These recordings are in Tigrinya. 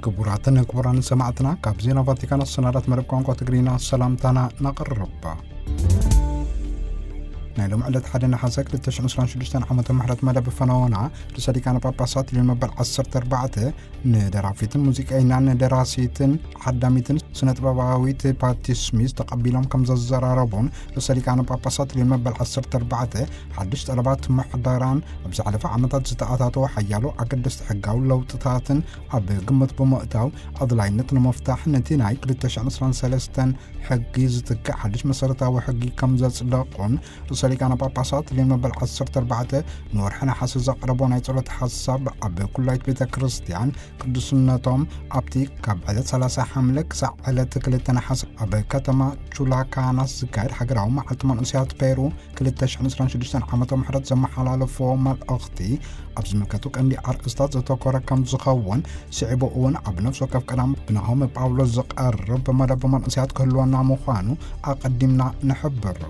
ክቡራትን ክቡራን ሰማዕትና፣ ካብ ዜና ቫቲካን ኣሰናዳት መደብ ቋንቋ ትግርኛ ሰላምታና ነቕርብ። ናይ ሎም ዕለት ሓደ ነሓሰ ክልተ ሽሕን ዕስራን ሽዱሽተን ዓመተ ምሕረት መደብ ፈነወና ርእሰ ሊቃነ ጳጳሳት ሊዮን መበል ዓሰርተ ኣርባዕተ ንደራፊትን ሙዚቀኛን ደራሲትን ሓዳሚትን ስነ ጥበባዊት ፓቲ ስሚዝ ተቐቢሎም ከም ዘዘራረቡን ርእሰ ሊቃነ ጳጳሳት ሊዮን መበል ዓሰርተ ኣርባዕተ ሓድሽ ጠለባት ምሕደራን ኣብ ዝሓለፈ ዓመታት ዝተኣታተወ ሓያሎ ኣገደስቲ ሕጋዊ ለውጥታትን ኣብ ግምት ብምእታው ኣድላይነት ንምፍታሕ ነቲ ናይ ክልተ ሽሕን ዕስራን ሰለስተን ሕጊ ዝትክእ ሓድሽ መሰረታዊ ሕጊ ከም ዘጽደቑን ርእሰ ሊቃነ ጳጳሳት ሊዮን መበል ዓሰርተ ኣርባዕተ ንወርሒ ነሓሰ ዘቕረቦ ናይ ጸሎት ሓሳብ ኣብ ኩላይት ቤተ ክርስቲያን ቅዱስነቶም ኣብቲ ካብ ዕለት ሰላሳ ሓምለ ክሳዕ ዕለት ክልተ ነሓሰ ኣብ ከተማ ቹላካናስ ዝካየድ ሃገራዊ መዓልቲ መንእሰያት ፔሩ ክልተ ሽሕን ዕስራን ሽዱሽተን ዓመተ ምሕረት ዘመሓላለፍዎ መልእኽቲ ኣብ ዝምልከቱ ቀንዲ ኣርእስታት ዘተኮረ ከም ዝኸውን ስዒቡ እውን ኣብ ነፍሲ ወከፍ ቀዳም ብናሆም ጳውሎስ ዝቐርብ መደብ መንእሰያት ክህልወና ምዃኑ ኣቐዲምና ንሕብር።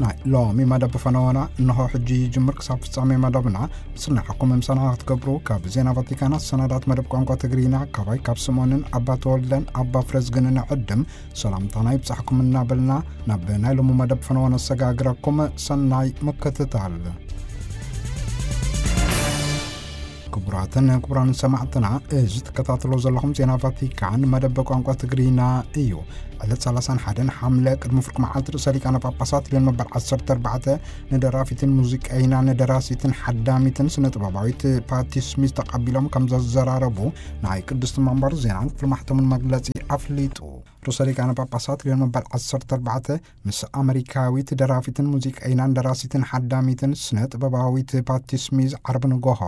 ናይ ሎሚ መደብ ፈነወና እንሆ ሕጂ ይጅምር። ክሳብ ፍጻሜ መደብና ምስናዕኩም ምሳና ክትገብሩ ካብ ዜና ቫቲካን ኣሰናዳት መደብ ቋንቋ ትግርኛ ካባይ ካብ ስምኦንን ኣባ ተወልደን ኣባ ፍረዝግንን ዕድም ሰላምታና ይብጻሕኩም እናበልና ናብ ናይ ሎሚ መደብ ፈነወ ነሰጋግረኩም። ሰናይ ምክትታል። ክቡራትን ክቡራን ሰማዕትና፣ እዚ ትከታተሎ ዘለኹም ዜና ቫቲካን መደብ ቋንቋ ትግርኛ እዩ። ዕለት ሰላሳን ሓደን ሓምለ ቅድሚ ፍርቂ መዓልቲ ርእሰ ሊቃነ ጳጳሳት ሊዮን መበል ዓሰርተ ኣርባዕተ ንደራፊትን ሙዚቀይና ንደራሲትን ሓዳሚትን ስነ ጥበባዊት ፓቲ ስሚዝ ተቐቢሎም ከም ዘዘራረቡ ናይ ቅድስቲ መንበር ዜናን ክፍሊ ማሕተምን መግለጺ ኣፍሊጡ። ርእሰ ሊቃነ ጳጳሳት ሊዮን መበል ዓሰርተ ኣርባዕተ ምስ ኣመሪካዊት ደራፊትን ሙዚቀይናን ደራሲትን ሓዳሚትን ስነ ጥበባዊት ፓቲ ስሚዝ ዓርቢ ንጎሆ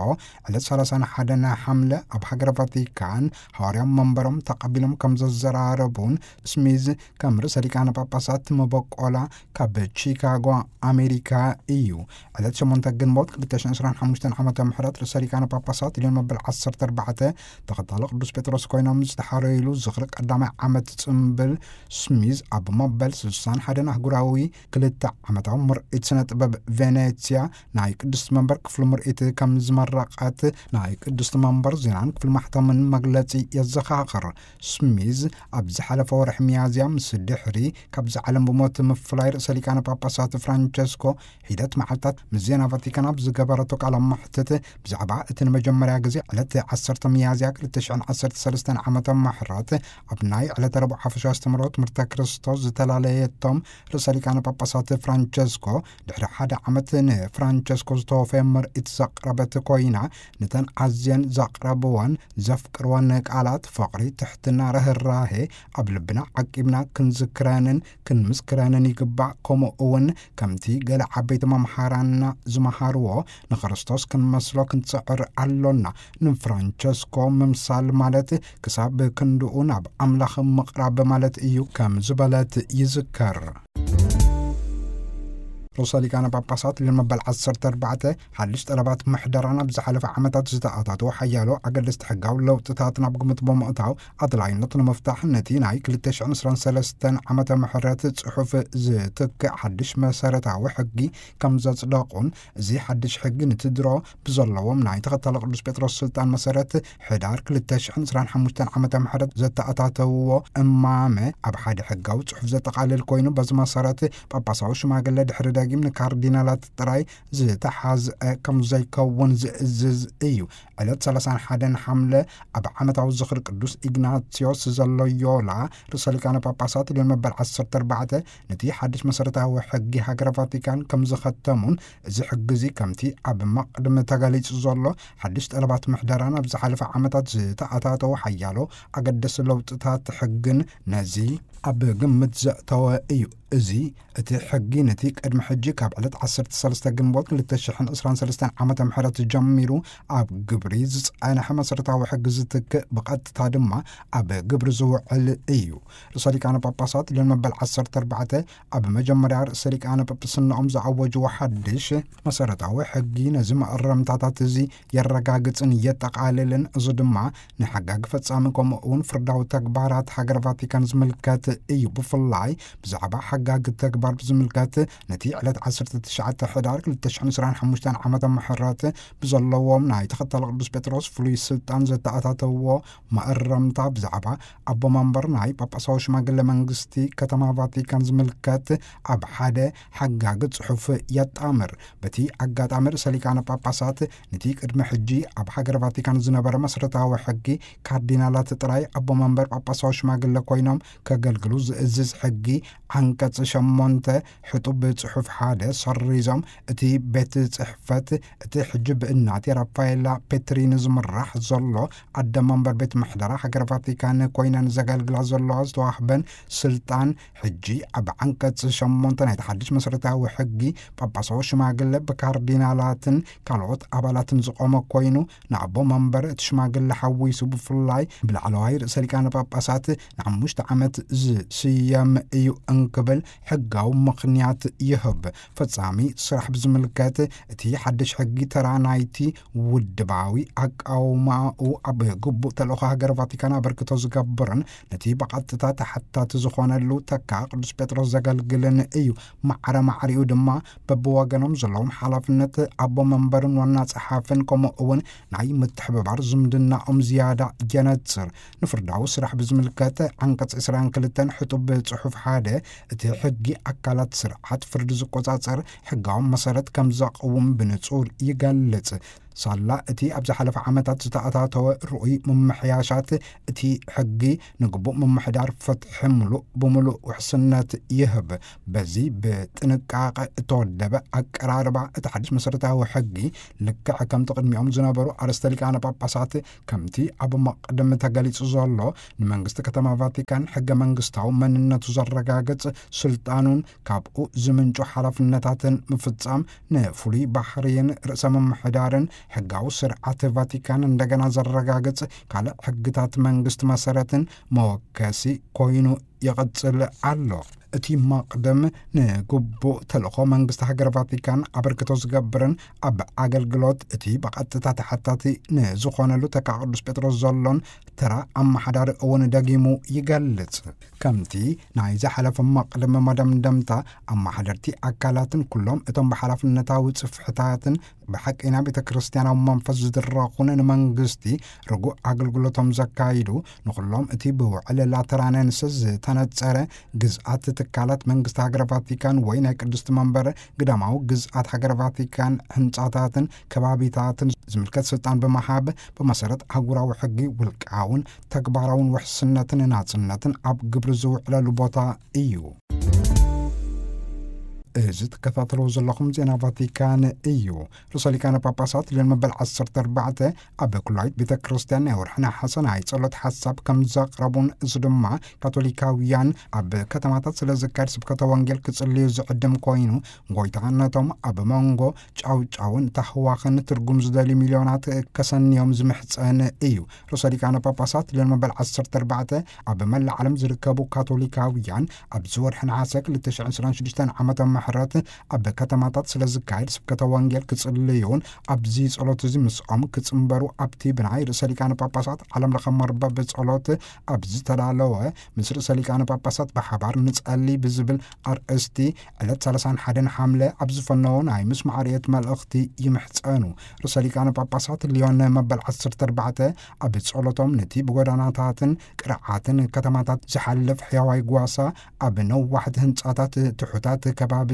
ዕለት ሰላሳን ሓደን ሓምለ ኣብ ሃገረ ቫቲካን ሃዋርያዊ መንበሮም ተቐቢሎም ከም ዘዘራረቡን ስሚዝ ከም ርእሰ ሊቃነ ጳጳሳት መበቆላ ካብ ቺካጎ ኣሜሪካ እዩ። ዕለት ሸሞንተ ግንቦት ክልተ ሽሕን ዕስራን ሓሙሽተን ዓመተ ምሕረት ርእሰ ሊቃነ ጳጳሳት ሊዮን መበል ዓሰርተ ኣርባዕተ ተኸታሊ ቅዱስ ጴጥሮስ ኮይኖም ዝተሓረዩሉ ዝኽሪ ቀዳማይ ዓመት ጽምብል ስሚዝ ኣብ መበል ስልሳን ሓደን ኣህጉራዊ ክልተ ዓመታዊ ምርኢት ስነ ጥበብ ቬኔትስያ ናይ ቅድስቲ መንበር ክፍሊ ምርኢት ከም ዝመረቐት ናይ ቅድስቲ መንበር ዜናን ክፍሊ ማሕተምን መግለጺ የዘኻኽር። ስሚዝ ኣብ ዝሓለፈ ወርሒ ሚያዝያ ምስ ድሕሪ ካብዚ ዓለም ብሞት ምፍላይ ርእሰ ሊቃነ ጳጳሳት ፍራንቸስኮ ሒደት መዓልታት ምስ ዜና ቫቲካን ኣብ ዝገበረቶ ቃለ መሕትት ብዛዕባ እቲ ንመጀመርያ ግዜ ዕለት ዓሰርተ ሚያዝያ ክልተ ሽሕን ዓሰርተ ሰለስተን ዓመተ ምሕረት ኣብ ናይ ዕለተ ረቡዕ ሓፈሻዊ ኣስተምህሮ ትምህርተ ክርስቶስ ዝተፈላለየቶም ርእሰ ሊቃነ ጳጳሳት ፍራንቸስኮ ድሕሪ ሓደ ዓመት ንፍራንቸስኮ ዝተወፈየ ምርኢት ዘቕረበት ኮይና፣ ነተን ኣዝየን ዘቕረብወን ዘፍቅርወን ቃላት ፍቕሪ፣ ትሕትና፣ ርህራሄ ኣብ ልብና ዓቂብና ክንዝክረንን ክንምስክረንን ይግባእ። ከምኡ እውን ከምቲ ገለ ዓበይቲ መምሃራንና ዝመሃርዎ ንክርስቶስ ክንመስሎ ክንጽዕር ኣሎና። ንፍራንቸስኮ ምምሳል ማለት ክሳብ ክንድኡ ናብ ኣምላኽ ምቕራብ ማለት እዩ ከም ዝበለት ይዝከር። ርእሰ ሊቃነ ጳጳሳት ሊዮን መበል ዓሰርተ ኣርባዕተ ሓድሽ ጠለባት ምሕደራን ኣብ ዝሓለፈ ዓመታት ዝተኣታተዉ ሓያሎ ኣገደስቲ ሕጋዊ ለውጥታት ናብ ግምት ብምእታው ኣድላይነት ንምፍታሕ ነቲ ናይ ክልተ ሽሕን ዕስራን ሰለስተን ዓመተ ምሕረት ጽሑፍ ዝትክእ ሓድሽ መሰረታዊ ሕጊ ከም ዘጽደቑን እዚ ሓድሽ ሕጊ ነቲ ድሮ ብዘለዎም ናይ ተኸታሊ ቅዱስ ጴጥሮስ ስልጣን መሰረት ሕዳር ክልተ ሽሕን ዕስራን ሓሙሽተን ዓመተ ምሕረት ዘተኣታተውዎ እማመ ኣብ ሓደ ሕጋዊ ጽሑፍ ዘጠቓልል ኮይኑ፣ በዚ መሰረት ጳጳሳዊ ሽማግለ ድሕሪ ደጊም ንካርዲናላት ጥራይ ዝተሓዝአ ከም ዘይከውን ዝእዝዝ እዩ። ዕለት ሰላሳን ሓደን ሓምለ ኣብ ዓመታዊ ዝኽሪ ቅዱስ ኢግናትዮስ ዘሎዮላ ርእሰ ሊቃነ ጳጳሳት ሊዮን መበል ዓሰርተ ኣርባዕተ ነቲ ሓድሽ መሰረታዊ ሕጊ ሃገረ ቫቲካን ከም ዝኸተሙን እዚ ሕጊ እዚ ከምቲ ኣብ መቕድሚ ተገሊጹ ዘሎ ሓድሽ ጠለባት ምሕደራን ኣብ ዝሓለፈ ዓመታት ዝተኣታተወ ሓያሎ ኣገደሲ ለውጥታት ሕግን ነዚ ኣብ ግምት ዘእተወ እዩ። እዚ እቲ ሕጊ ነቲ ቅድሚ ሕጂ ካብ ዕለት ዓሰርተ ሰለስተ ግንቦት ክልተ ሽሕን ዕስራን ሰለስተን ዓመተ ምሕረት ጀሚሩ ኣብ ግብሪ ዝጸንሐ መሰረታዊ ሕጊ ዝትክእ፣ ብቐጥታ ድማ ኣብ ግብሪ ዝውዕል እዩ። ርእሰ ሊቃነ ጳጳሳት ሊዮን መበል ዓሰርተ ኣርባዕተ ኣብ መጀመርያ ርእሰ ሊቃነ ጳጳስነኦም ዝኣወጅዎ ሓድሽ መሰረታዊ ሕጊ ነዚ መእረምታታት እዚ የረጋግጽን የጠቓልልን። እዚ ድማ ንሓጋጊ ፈጻሚ ከምኡ እውን ፍርዳዊ ተግባራት ሃገር ቫቲካን ዝምልከት እዩ። ብፍላይ ብዛዕባ ሓጋጊ ተግባር ብዝምልከት ነቲ ዕለት ዓሰርተ ትሽዓተ ሕዳር ክልተ ሽሕን ዕስራን ሓሙሽተን ዓመተ ምሕረት ብዘለዎም ናይ ተኸታሊ ቅዱስ ጴጥሮስ ፍሉይ ስልጣን ዘተኣታተዎ መእረምታ ብዛዕባ ኣቦ መንበር ናይ ጳጳሳዊ ሽማግለ መንግስቲ ከተማ ቫቲካን ዝምልከት ኣብ ሓደ ሓጋጊ ጽሑፍ የጣምር። በቲ ኣጋጣሚ ርእሰ ሊቃነ ጳጳሳት ነቲ ቅድሚ ሕጂ ኣብ ሃገረ ቫቲካን ዝነበረ መሰረታዊ ሕጊ ካርዲናላት ጥራይ ኣቦ መንበር ጳጳሳዊ ሽማግለ ኮይኖም ከገልግሉ ዝእዝዝ ሕጊ ዓንቀጽ ሸሞንተ ሕጡብ ጽሑፍ ሓደ ሰሪዞም እቲ ቤት ጽሕፈት እቲ ሕጂ ብእናት ራፋኤላ ፔትሪኒ ዝምራሕ ዘሎ ኣደ መንበር ቤት ምሕደራ ሃገረ ቫቲካን ኮይነን ዘገልግላ ዘለዋ ዝተዋህበን ስልጣን ሕጂ ኣብ ዓንቀጽ ሸሞንተ ናይቲ ሓድሽ መሰረታዊ ሕጊ ጳጳሳዊ ሽማግለ ብካርዲናላትን ካልኦት ኣባላትን ዝቆመ ኮይኑ ንኣቦ መንበር እቲ ሽማግለ ሓዊሱ ብፍላይ ብላዕለዋይ ርእሰ ሊቃነ ጳጳሳት ንሓሙሽተ ዓመት ዝስየም እዩ እንክብል ሕጋዊ ምኽንያት ይህብ። ፈጻሚ ስራሕ ብዝምልከት እቲ ሓድሽ ሕጊ ተራ ናይቲ ውድባዊ ኣቃውማኡ ኣብ ግቡእ ተልእኾ ሃገር ቫቲካን ኣበርክቶ ዝገብርን ነቲ ብቐጥታ ተሓታቲ ዝኾነሉ ተካ ቅዱስ ጴጥሮስ ዘገልግልን እዩ። ማዕረ ማዕሪኡ ድማ በብወገኖም ዘለዎም ሓላፍነት ኣቦ መንበርን ዋና ጸሓፍን ከምኡ እውን ናይ ምትሕብባር ዝምድናኦም ዝያዳ የነጽር። ንፍርዳዊ ስራሕ ብዝምልከት ዓንቀጽ ዕስራን ክልተን ሕጡብ ጽሑፍ ሓደ እቲ ሕጊ ኣካላት ስርዓት ፍርዲ ዝቆጻጸር ሕጋዊ መሰረት ከም ዘቕውም ብንጹር ይገልጽ። ሳላ እቲ ኣብ ዝሓለፈ ዓመታት ዝተኣታተወ ርኡይ ምምሕያሻት እቲ ሕጊ ንግቡእ ምምሕዳር ፍትሒ ምሉእ ብምሉእ ውሕስነት ይህብ። በዚ ብጥንቃቐ እተወደበ ኣቀራርባ እቲ ሓድሽ መሰረታዊ ሕጊ ልክዕ ከምቲ ቅድሚኦም ዝነበሩ ኣርእስተ ሊቃነ ጳጳሳት ከምቲ ኣብ መቕድም ተገሊጹ ዘሎ ንመንግስቲ ከተማ ቫቲካን ሕገ መንግስታዊ መንነቱ ዘረጋግጽ ስልጣኑን ካብኡ ዝምንጩ ሓላፍነታትን ምፍጻም ንፍሉይ ባህርይን ርእሰ ምምሕዳርን ሕጋዊ ስርዓት ቫቲካን እንደገና ዘረጋግጽ ካልእ ሕግታት መንግስቲ መሰረትን መወከሲ ኮይኑ ይቕጽል ኣሎ። እቲ መቕድም ንግቡእ ተልእኾ መንግስቲ ሃገር ቫቲካን ኣበርክቶ ዝገብርን ኣብ ኣገልግሎት እቲ ብቐጥታ ተሓታቲ ንዝኾነሉ ተካ ቅዱስ ጴጥሮስ ዘሎን ተራ ኣመሓዳሪ እውን ደጊሙ ይገልጽ። ከምቲ ናይ ዝሓለፈ መቕድም መደምደምታ ኣመሓደርቲ ኣካላትን ኩሎም እቶም ብሓላፍነታዊ ጽፍሕታትን ብሓቂ ናብ ቤተ ክርስቲያናዊ መንፈስ ዝድረኹን ንመንግስቲ ርጉእ ኣገልግሎቶም ዘካይዱ ንኹሎም እቲ ብውዕል ላተራነንስ ዝተነጸረ ግዝኣት ትካላት መንግስቲ ሃገረ ቫቲካን ወይ ናይ ቅድስቲ መንበር ግዳማዊ ግዝኣት ሃገረ ቫቲካን ህንጻታትን ከባቢታትን ዝምልከት ስልጣን ብምሃብ ብመሰረት ኣህጉራዊ ሕጊ ውልቃውን ተግባራውን ውሕስነትን ናጽነትን ኣብ ግብሪ ዝውዕለሉ ቦታ እዩ። እዚ ትከታተልዎ ዘለኹም ዜና ቫቲካን እዩ። ርእሰ ሊቃነ ጳጳሳት ሊዮን መበል ዓሰርተ ኣርባዕተ ኣብ ኩላይት ቤተ ክርስቲያን ናይ ወርሒ ነሓሰ ናይ ጸሎት ሓሳብ ከም ዘቕረቡን፣ እዚ ድማ ካቶሊካውያን ኣብ ከተማታት ስለ ዝካየድ ስብከተ ወንጌል ክጽልዩ ዝዕድም ኮይኑ፣ ጎይታ ነቶም ኣብ መንጎ ጫውጫውን ታህዋኽን ትርጉም ዝደልዩ ሚልዮናት ከሰንዮም ዝምሕጸን እዩ። ርእሰ ሊቃነ ጳጳሳት ሊዮን መበል ዓሰርተ ኣርባዕተ ኣብ መላእ ዓለም ዝርከቡ ካቶሊካውያን ኣብዚ ወርሒ ነሓሰ ክልተ ሽሕን ዕስራን ሽዱሽተን ዓመተ ምሕረት ኣብ ከተማታት ስለ ዝካየድ ስብከተ ወንጌል ክጽልዩን ኣብዚ ጸሎት እዚ ምስኦም ክጽንበሩ ኣብቲ ብናይ ርእሰ ሊቃነ ጳጳሳት ዓለም ለኸ መርበብ ጸሎት ኣብ ዝተዳለወ ምስ ርእሰ ሊቃነ ጳጳሳት ብሓባር ንጸሊ ብዝብል ኣርእስቲ ዕለት ሰላሳን ሓደን ሓምለ ኣብ ዝፈነዎ ናይ ምስማዕ ርእየት መልእኽቲ ይምሕጸኑ። ርእሰ ሊቃነ ጳጳሳት ሊዮን መበል ዓሰርተ ኣርባዕተ ኣብ ጸሎቶም ነቲ ብጎዳናታትን ቅርዓትን ከተማታት ዝሓልፍ ሕያዋይ ጓሳ ኣብ ነዋሕቲ ህንጻታት ትሑታት ከባቢታትን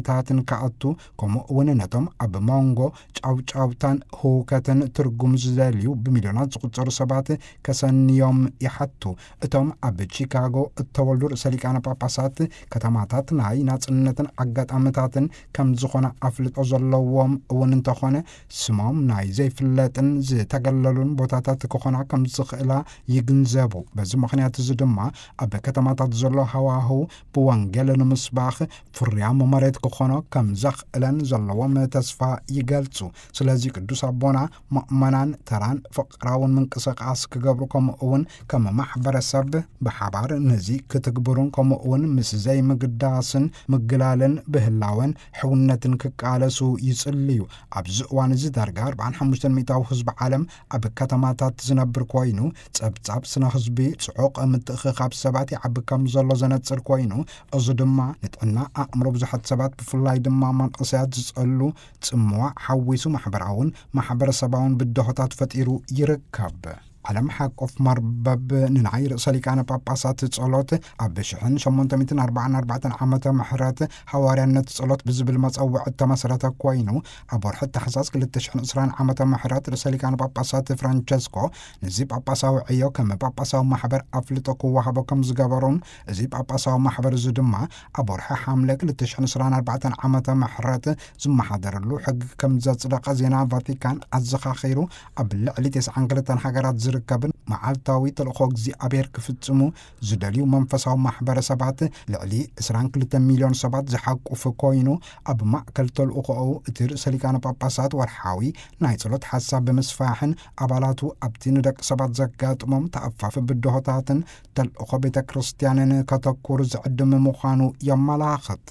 ክኣቱ፣ ከምኡ እውን ነቶም ኣብ መንጎ ጫውጫውታን ህውከትን ትርጉም ዝደልዩ ብሚልዮናት ዝቑጸሩ ሰባት ከሰንዮም ይሓቱ። እቶም ኣብ ቺካጎ እተወልዱ ርእሰ ሊቃነ ጳጳሳት ከተማታት ናይ ናጽነትን ኣጋጣሚታትን ከም ዝኾነ ኣፍልጦ ዘለዎም እውን እንተኾነ፣ ስሞም ናይ ዘይፍለጥን ዝተገለሉን ቦታታት ክኾና ከም ዝኽእላ ይግንዘቡ። በዚ ምኽንያት እዚ ድማ ኣብ ከተማታት ዘሎ ሃዋህው ብወንጌል ንምስባኽ ፍርያም መሬት ክኾኖ ከም ዘኽእለን ዘለዎም ተስፋ ይገልጹ። ስለዚ ቅዱስ ኣቦና ምእመናን ተራን ፍቕራውን ምንቅስቓስ ክገብሩ፣ ከምኡ እውን ከም ማሕበረሰብ ብሓባር ነዚ ክትግብሩን ከምኡ እውን ምስ ዘይምግዳስን ምግላልን ብህላወን ሕውነትን ክቃለሱ ይጽልዩ። ኣብዚ እዋን እዚ ዳርጋ ኣርባዓን ሓሙሽተን ሚእታዊ ህዝቢ ዓለም ኣብ ከተማታት ዝነብር ኮይኑ፣ ጸብጻብ ስነ ህዝቢ ጽዑቕ ምትእኽኻብ ሰባት ይዓቢ ከም ዘሎ ዘነጽር ኮይኑ፣ እዚ ድማ ንጥዕና ኣእምሮ ብዙሓት ሰባት ብፍላይ ድማ መንእሰያት ዝጸሉ ጽምዋ ሓዊሱ ማሕበራውን ማሕበረሰባውን ብድሆታት ፈጢሩ ይርከብ። ዓለም ሓቆፍ መርበብ ንናይ ርእሰ ሊቃነ ጳጳሳት ጸሎት ኣብ ሽሕን ሸሞንተ ሚእትን ኣርባዓን ኣርባዕተን ዓመተ ምሕረት ሃዋርያነት ጸሎት ብዝብል መጸውዕ እተመስረተ ኮይኑ፣ ኣብ ወርሒ ታሕሳስ ክልተ ሽሕን ዕስራን ዓመተ ምሕረት ርእሰ ሊቃነ ጳጳሳት ፍራንቸስኮ ነዚ ጳጳሳዊ ዕዮ ከም ጳጳሳዊ ማሕበር ኣፍልጦ ክወሃቦ ከም ዝገበሩን፣ እዚ ጳጳሳዊ ማሕበር እዚ ድማ ኣብ ወርሒ ሓምለ ክልተ ሽሕን ዕስራን ኣርባዕተን ዓመተ ምሕረት ዝመሓደረሉ ሕጊ ከም ዘጽደቐ ዜና ቫቲካን ኣዘኻኺሩ፣ ኣብ ልዕሊ ተስዓን ክልተን ሃገራት ዝርከብን መዓልታዊ ተልእኾ እግዚኣብሔር ክፍጽሙ ዝደልዩ መንፈሳዊ ማሕበረሰባት ልዕሊ ዕስራን ክልተን ሚልዮን ሰባት ዝሓቁፍ ኮይኑ፣ ኣብ ማእከል ተልእኾኡ እቲ ርእሰ ሊቃነ ጳጳሳት ወርሓዊ ናይ ጸሎት ሓሳብ ብምስፋሕን ኣባላቱ ኣብቲ ንደቂ ሰባት ዘጋጥሞም ተኣፋፊ ብድሆታትን ተልእኾ ቤተ ክርስቲያንን ከተኩር ዝዕድም ምዃኑ የመላኽት።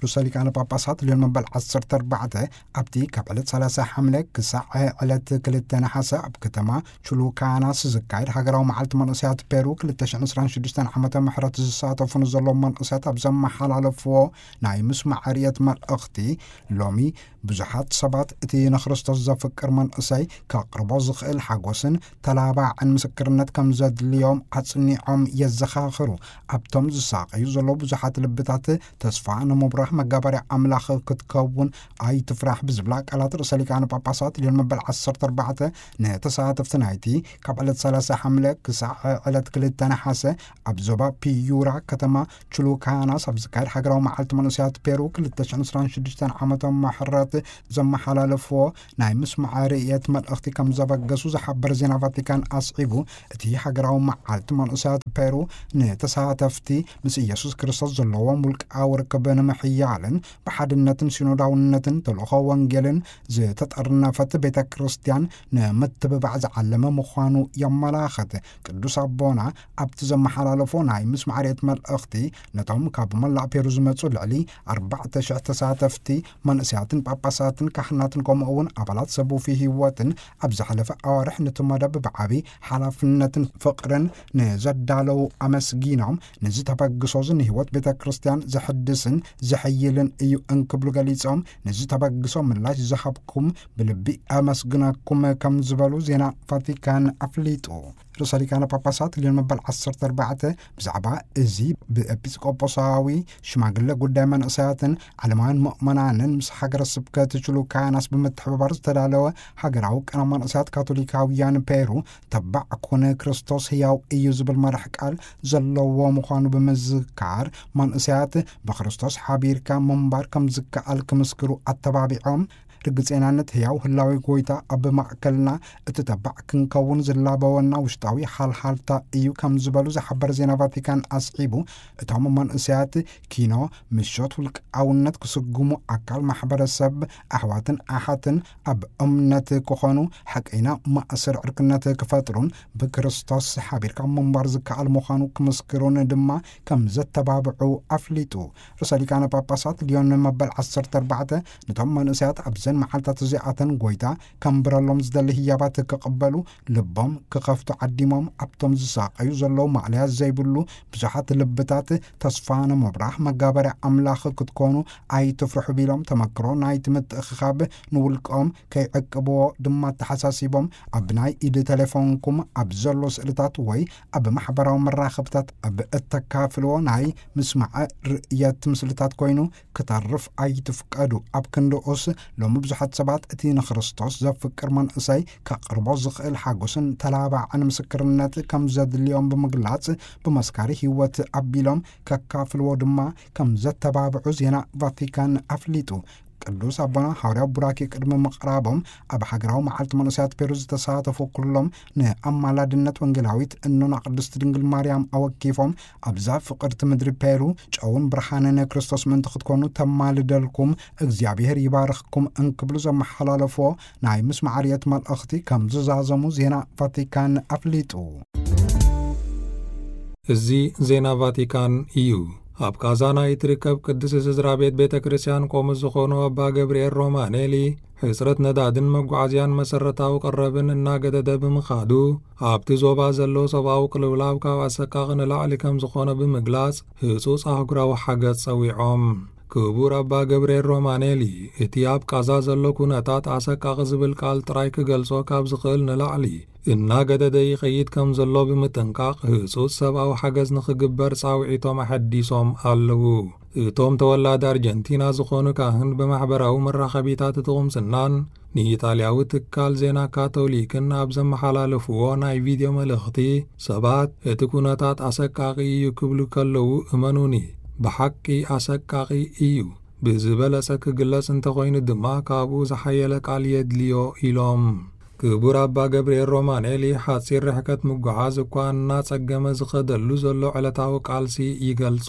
ርእሰ ሊቃነ ጳጳሳት ልዮን መበል ዓሰርተ ኣርባዕተ ኣብቲ ካብ ዕለት ሰላሳ ሓምለ ክሳዕ ዕለት ክልተ ነሓሰ ኣብ ከተማ ቹሉካናስ ዝካየድ ሃገራዊ መዓልቲ መንእሰያት ፔሩ ክልተ ሽሕን ዕስራን ሽዱሽተን ዓመተ ምሕረት ዝሳተፉ ንዘለዉ መንእሰያት ኣብ ዘመሓላለፍዎ ናይ ምስማዕ ርእየት መልእኽቲ፣ ሎሚ ብዙሓት ሰባት እቲ ንክርስቶስ ዘፍቅር መንእሰይ ከቕርቦ ዝኽእል ሓጎስን ተላባዕን ምስክርነት ከም ዘድልዮም ኣጽኒዖም የዘኻኽሩ። ኣብቶም ዝሳቐዩ ዘለዉ ብዙሓት ልብታት ተስፋ ንምብራህ መጋበርያ ኣምላኽ ክትከውን ኣይትፍራሕ ብዝብላ ቃላት ርእሰ ሊቃነ ጳጳሳት ልዮን መበል ዓሰርተ ኣርባዕተ ንተሳተፍቲ ናይቲ ካብ ዕለት ሰላሳ ሓምለ ክሳዕ ዕለት ክልተ ነሓሰ ኣብ ዞባ ፒዩራ ከተማ ቹሉካናስ ኣብ ዝካየድ ሃገራዊ መዓልቲ መንእሰያት ፔሩ ክልተ ሽሕን ዕስራን ሽዱሽተን ዓመተ ምሕረት ዘመሓላለፍዎ ናይ ምስማዕ ርእየት መልእኽቲ ከም ዘበገሱ ዝሓበር ዜና ቫቲካን ኣስዒቡ፣ እቲ ሃገራዊ መዓልቲ መንእሰያት ፔሩ ንተሳተፍቲ ምስ ኢየሱስ ክርስቶስ ዘለዎም ውልቃዊ ርክብ ንምሕያልን ብሓድነትን ሲኖዳውነትን ተልእኾ ወንጌልን ዝተጠርነፈት ቤተ ክርስቲያን ንምትብባዕ ዝዓለመ ምዃኑ የመላኽት። ቅዱስ ኣቦና ኣብቲ ዘመሓላለፎ ናይ ምስማዕ ርእየት መልእኽቲ፣ ነቶም ካብ መላእ ፔሩ ዝመጹ ልዕሊ ኣርባዕተ ሽሕ ተሳተፍቲ፣ መንእሰያትን ጳጳሳትን ካህናትን፣ ከምኡ እውን ኣባላት ሰብ ውፉይ ህይወትን ኣብ ዝሓለፈ ኣዋርሕ ነቲ መደብ ብዓቢ ሓላፍነትን ፍቕርን ንዘዳለዉ ኣመስጊኖም፣ ነዚ ተበግሶ እዚ ንህይወት ቤተ ክርስቲያን ዘሕድስን ዘሐይልን እዩ እንክብሉ ገሊጾም፣ ነዚ ተበግሶ ምላሽ ዝሃብኩም ብልቢ ኣመስግነኩም ከም ዝበሉ ዜና ቫቲካን ኣፍሊጡ። ርእሰ ሊቃነ ጳጳሳት ልዮን መበል ዓሰርተ ኣርባዕተ ብዛዕባ እዚ ብኤጲስቆጶሳዊ ሽማግለ ጉዳይ መንእሰያትን ዓለማውያን ምእመናንን ምስ ሃገረ ስብከት ቹሉካናስ ብምትሕብባር ዝተዳለወ ሃገራዊ ቅነ መንእሰያት ካቶሊካውያን ፔሩ፣ ተባዕ ኩን ክርስቶስ ህያው እዩ ዝብል መራሕ ቃል ዘለዎ ምዃኑ ብምዝካር፣ መንእሰያት ብክርስቶስ ሓቢርካ ምንባር ከም ዝከኣል ክምስክሩ ኣተባቢዖም፣ ርግጼናነት ህያው ህላዌ ጎይታ ኣብ ማእከልና እቲ ተባዕ ክንከውን ዝላበወና ውሽጣዊ ሃልሃልታ እዩ ከም ዝበሉ ዝሓበር ዜና ቫቲካን ኣስዒቡ፣ እቶም መንእሰያት ኪኖ፣ ምሾት፣ ውልቃውነት ክስጉሙ፣ ኣካል ማሕበረሰብ ኣሕዋትን ኣሓትን ኣብ እምነት ክኾኑ፣ ሓቀይና ማእሰር ዕርክነት ክፈጥሩን ብክርስቶስ ሓቢርካ ምንባር ዝከኣል ምዃኑ ክምስክሩን ድማ ከም ዘተባብዑ ኣፍሊጡ። ርእሰ ሊቃነ ጳጳሳት ልዮን መበል ዓሰርተ ኣርባዕተ ነቶም መንእሰያት ኣብዘን መዓልታት እዚኣተን ጎይታ ከንብረሎም ዝደሊ ህያባት ክቕበሉ ልቦም ክኸፍቱ ዓዲሞም፣ ኣብቶም ዝሳቐዩ ዘለዉ ማእለያ ዘይብሉ ብዙሓት ልብታት ተስፋ ንምብራህ መጋበርያ ኣምላኽ ክትኮኑ ኣይትፍርሑ ቢሎም፣ ተመክሮ ናይቲ ምትእኽኻብ ንውልቆም ከይዕቅብዎ ድማ ኣተሓሳሲቦም፣ ኣብ ናይ ኢድ ቴሌፎንኩም ኣብ ዘሎ ስእልታት ወይ ኣብ ማሕበራዊ መራኸብታት ኣብ እተካፍልዎ ናይ ምስማዕ ርእየት ምስልታት ኮይኑ ክተርፍ ኣይትፍቀዱ። ኣብ ክንድኡስ ሎሚ ብዙሓት ሰባት እቲ ንክርስቶስ ዘፍቅር መንእሰይ ከቕርቦ ዝኽእል ሓጎስን ተላባዕን ምስክርነት ከም ዘድልዮም ብምግላጽ፣ ብመስካሪ ህይወት ኣቢሎም ከካፍልዎ ድማ ከም ዘተባብዑ ዜና ቫቲካን ኣፍሊጡ። ቅዱስ ኣቦና ሓዋርያዊ ቡራኬ ቅድሚ ምቕራቦም፣ ኣብ ሃገራዊ መዓልቲ መንእሰያት ፔሩ ዝተሳተፉ ኩሎም ንኣማላድነት ወንጌላዊት እኖና ቅድስት ድንግል ማርያም ኣወኪፎም፣ ኣብዛ ፍቕርቲ ምድሪ ፔሩ ጨውን ብርሃንን ክርስቶስ ምእንቲ ክትኮኑ ተማልደልኩም፣ እግዚኣብሔር ይባርኽኩም እንክብሉ ዘመሓላለፍዎ ናይ ምስማዕ ርእየት መልእኽቲ ከም ዝዛዘሙ ዜና ቫቲካን ኣፍሊጡ። እዚ ዜና ቫቲካን እዩ። ኣብ ቃዛ ናይ እትርከብ ቅድስቲ ስድራ ቤት ቤተ ክርስቲያን ቆሞስ ዝኾኑ ኣባ ገብርኤል ሮማኔሊ፣ ሕጽረት ነዳድን መጓዓዝያን መሰረታዊ ቀረብን እናገደደ ብምኻዱ፣ ኣብቲ ዞባ ዘሎ ሰብኣዊ ቅልውላው ካብ ኣሰቃቒ ንላዕሊ ከም ዝኾነ ብምግላጽ፣ ህጹጽ ኣህጉራዊ ሓገዝ ጸዊዖም። ክቡር ኣባ ገብርኤል ሮማኔሊ፣ እቲ ኣብ ቃዛ ዘሎ ኩነታት ኣሰቃቒ ዝብል ቃል ጥራይ ክገልጾ ካብ ዝኽእል ንላዕሊ እናገደደ ይኸይድ ከም ዘሎ ብምጥንቃቕ፣ ህጹጽ ሰብኣዊ ሓገዝ ንኽግበር ጻውዒቶም ኣሐዲሶም ኣለዉ። እቶም ተወላዲ ኣርጀንቲና ዝኾኑ ካህን ብማሕበራዊ መራኸቢታት እቲ ቁምስናን ንኢጣልያዊ ትካል ዜና ካቶሊክን ኣብ ዘመሓላለፍዎ ናይ ቪድዮ መልእኽቲ፣ ሰባት እቲ ኩነታት ኣሰቃቒ እዩ ክብሉ ከለዉ፣ እመኑኒ፣ ብሓቂ ኣሰቃቒ እዩ። ብዝበለጸ ክግለጽ እንተኾይኑ ድማ ካብኡ ዝሓየለ ቃል የድልዮ ኢሎም። ክቡር ኣባ ገብርኤል ሮማኔሊ ሓጺር ርሕቀት ምጉዓዝ እኳ እናጸገመ ዝኸደሉ ዘሎ ዕለታዊ ቃልሲ ይገልጹ።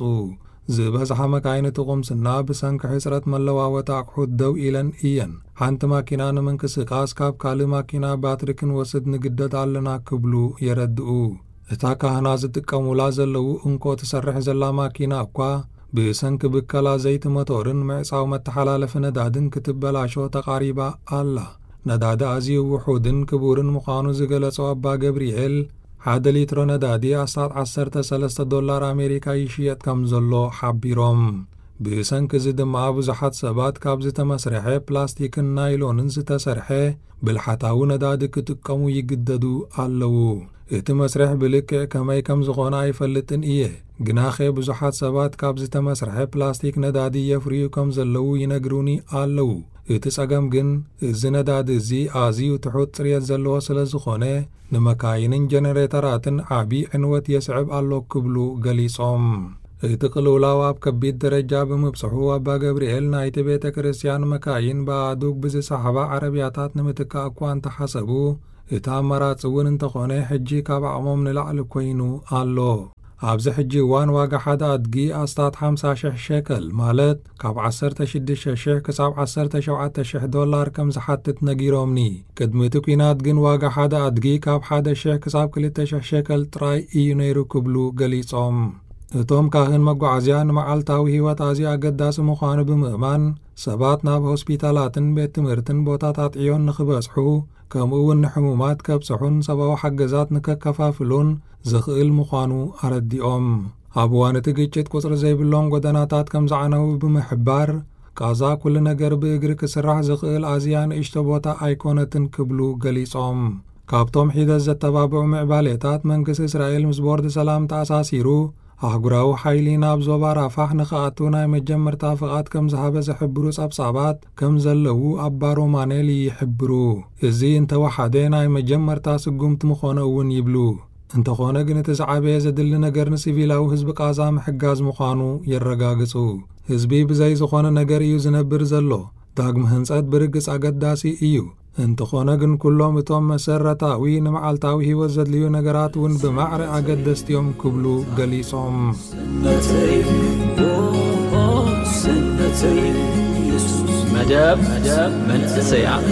ዝበዝሓ መካይን እቲ ቁምስና ብሰንኪ ሕጽረት መለዋወጢ ኣቑሑት ደው ኢለን እየን። ሓንቲ ማኪና ንምንቅስቃስ ካብ ካልእ ማኪና ባትሪ ክንወስድ ንግደድ ኣለና ክብሉ የረድኡ። እታ ካህና ዝጥቀሙላ ዘለዉ እንኮ ትሰርሕ ዘላ ማኪና እኳ ብሰንኪ ብከላ ዘይቲ መቶርን ምዕጻው መተሓላለፊ ነዳድን ክትበላሾ ተቓሪባ ኣላ። ነዳዲ ኣዝዩ ውሑድን ክቡርን ምዃኑ ዝገለጸ ኣባ ገብርኤል፣ ሓደ ሊትሮ ነዳዲ ኣስታት ዓሰርተ ሰለስተ ዶላር ኣሜሪካ ይሽየጥ ከም ዘሎ ሓቢሮም። ብሰንኪ እዚ ድማ ብዙሓት ሰባት ካብ ዝተመስርሐ ፕላስቲክን ናይሎንን ዝተሰርሐ ብልሓታዊ ነዳዲ ክጥቀሙ ይግደዱ ኣለዉ። እቲ መስርሕ ብልክዕ ከመይ ከም ዝኾነ ኣይፈልጥን እየ፣ ግናኸ ብዙሓት ሰባት ካብ ዝተመስርሐ ፕላስቲክ ነዳዲ የፍርዩ ከም ዘለዉ ይነግሩኒ ኣለዉ። እቲ ጸገም ግን፣ እዚ ነዳዲ እዚ ኣዝዩ ትሑት ጽርየት ዘለዎ ስለ ዝኾነ፣ ንመካይንን ጀነሬተራትን ዓቢ ዕንወት የስዕብ ኣሎ ክብሉ ገሊጾም። እቲ ቅልውላው ኣብ ከቢድ ደረጃ ብምብጽሑ፣ ኣባ ገብርኤል ናይቲ ቤተ ክርስቲያን መካይን ብኣእዱግ ብዝሰሓባ ዓረብያታት ንምትካእ እኳ እንተሓሰቡ፣ እቲ ኣማራጺ እውን እንተኾነ፣ ሕጂ ካብ ዓቕሞም ንላዕሊ ኮይኑ ኣሎ። ኣብዚ ሕጂ እዋን ዋጋ ሓደ ኣድጊ ኣስታት ሓምሳ ሽሕ ሸከል፣ ማለት ካብ ዓሰርተ ሽዱሽተ ሽሕ ክሳብ ዓሰርተ ሸውዓተ ሽሕ ዶላር ከም ዝሓትት ነጊሮምኒ። ቅድሚ እቲ ኲናት ግን ዋጋ ሓደ ኣድጊ ካብ ሓደ ሽሕ ክሳብ ክልተ ሽሕ ሸከል ጥራይ እዩ ነይሩ ክብሉ ገሊጾም። እቶም ካህን መጓዓዝያ ንመዓልታዊ ህይወት ኣዝዩ ኣገዳሲ ምዃኑ ብምእማን፣ ሰባት ናብ ሆስፒታላትን ቤት ትምህርትን ቦታታት ዕዮን ንኽበጽሑ፣ ከምኡ እውን ንሕሙማት ከብጽሑን ሰብኣዊ ሓገዛት ንከከፋፍሉን ዝኽእል ምዃኑ ኣረዲኦም። ኣብ እዋን እቲ ግጭት ቁጽሪ ዘይብሎም ጎደናታት ከም ዝዓነዉ ብምሕባር፣ ቃዛ ኩሉ ነገር ብእግሪ ክስራሕ ዝኽእል ኣዝያ ንእሽቶ ቦታ ኣይኮነትን ክብሉ ገሊጾም። ካብቶም ሒደት ዘተባብዑ ምዕባሌታት መንግስቲ እስራኤል ምስ ቦርድ ሰላም ተኣሳሲሩ፣ ኣህጉራዊ ሓይሊ ናብ ዞባ ራፋሕ ንኽኣቱ ናይ መጀመርታ ፍቓድ ከም ዝሃበ ዝሕብሩ ጸብጻባት ከም ዘለዉ ኣባ ሮማኔሊ ይሕብሩ። እዚ እንተወሓደ ናይ መጀመርታ ስጉምቲ ምኾነ እውን ይብሉ። እንተኾነ ግን እቲ ዝዓበየ ዘድሊ ነገር ንሲቪላዊ ህዝቢ ቃዛ ምሕጋዝ ምዃኑ የረጋግጹ። ህዝቢ ብዘይ ዝኾነ ነገር እዩ ዝነብር ዘሎ። ዳግመ ህንጸት ብርግጽ ኣገዳሲ እዩ። እንተኾነ ግን ኩሎም እቶም መሰረታዊ ንመዓልታዊ ህይወት ዘድልዩ ነገራት እውን ብማዕረ ኣገደስቲ እዮም ክብሉ ገሊጾም። መደብ መንእሰያት